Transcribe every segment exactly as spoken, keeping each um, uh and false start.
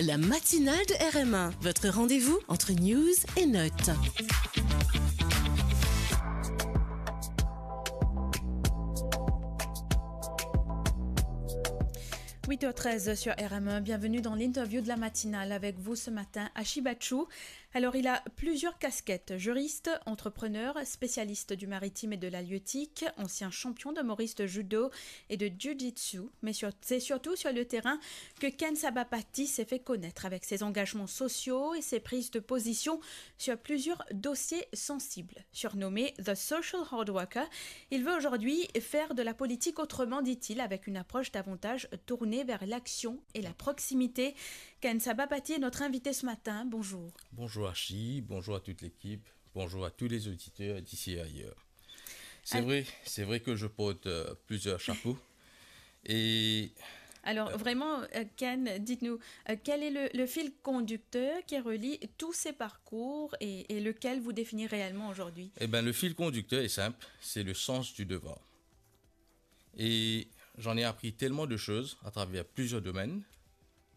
La matinale de R M un, votre rendez-vous entre news et notes. Huit heures treize sur R M un, bienvenue dans l'interview de la matinale avec vous ce matin, Ashi Bachou. Alors, il a plusieurs casquettes. Juriste, entrepreneur, spécialiste du maritime et de l'halieutique, ancien champion de Maurice de judo et de jiu-jitsu, mais sur- c'est surtout sur le terrain que Ken Sabapathy s'est fait connaître avec ses engagements sociaux et ses prises de position sur plusieurs dossiers sensibles. Surnommé The Social Hard Worker, il veut aujourd'hui faire de la politique autrement, dit-il, avec une approche davantage tournée vers l'action et la proximité. Ken Sabapathy est notre invité ce matin. Bonjour. Bonjour Ashi, bonjour à toute l'équipe, bonjour à tous les auditeurs d'ici et ailleurs. C'est Al- vrai, c'est vrai que je porte, euh, plusieurs chapeaux. Et Alors, euh, vraiment, euh, Ken, dites-nous, euh, quel est le, le fil conducteur qui relie tous ces parcours et, et lequel vous définit réellement aujourd'hui ? Eh ben, le fil conducteur est simple, c'est le sens du devoir. Et j'en ai appris tellement de choses à travers plusieurs domaines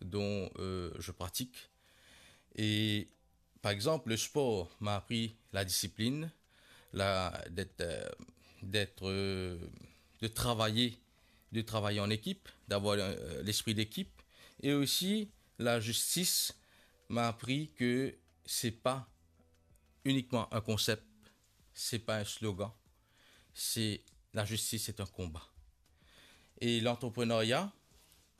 dont, euh, je pratique. Et par exemple, le sport m'a appris la discipline, la, d'être, euh, d'être, euh, de travailler, de travailler en équipe, d'avoir, euh, l'esprit d'équipe. Et aussi, la justice m'a appris que c'est pas uniquement un concept, c'est pas un slogan, c'est, la justice est un combat. Et l'entrepreneuriat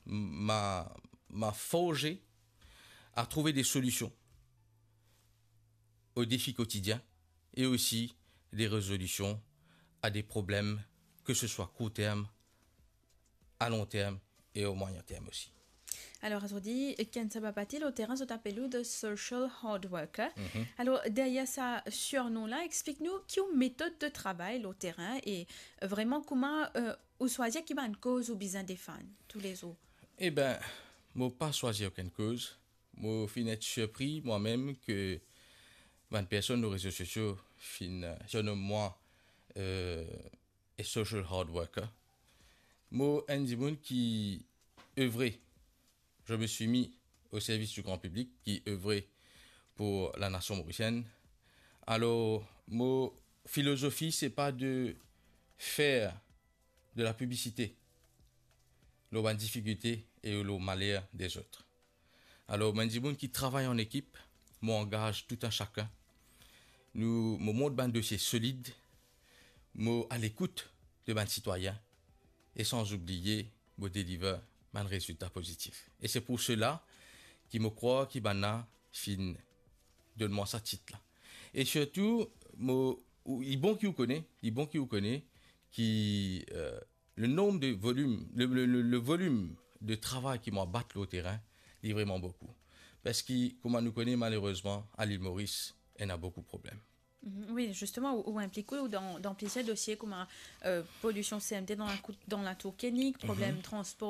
m'a, m'a forgé à trouver des solutions aux défis quotidiens et aussi des résolutions à des problèmes, que ce soit court terme, à long terme et au moyen terme aussi. Alors, azordi, Ken Sabapathy, lor terin, zot apel ou The Social Hard Worker. Mhm. Alors, derrière sa surnom la, explique-nous ki ou méthode de travail lor terin et, euh, vraiment kouma, euh, ou swazir ki bann koz ou bizin defann toulezour. Eh ben, mo pa swazir okenn koz. Mo finn et sirpri mwa mem ke bann personn lor rezo sosio finn, euh, surnom mwa, euh, a social hard worker. Mo enn dimoun ki evre, je me suis mis au service du grand public, ki evre pour la nation mauricienne. Alors, mo filozofi, c'est pas de faire de la publicité lor bann difikilte e lor maler dezot. Alor, mo enn dimoun ki travay an ekip, mo angaz tou enn sakenn. Nou, mo mont bann dosie solid, mo alekout de bann sitwayin, e san oubliye, mo deliver bann rezilta pozitif. E se pou sela ki mo krwar ki bann la finn donn mwa sa tit la. E sirtou, mo, ou, li bon ki ou kone, li bon ki ou kone ki, euh, le nombre de volume, le, le, le, le volume de travay ki mo bat lor terin, li vreman boukou. Parski, kouma nou kone, malerezman, a Lil Moris, ena boukou problem. Mhm, wi, zisteman, ou, ou inplik ou dan, dan plizier dosie kouma, euh, polision C M T dan la kou-, dan Latour Koenig, mhm, problem transpor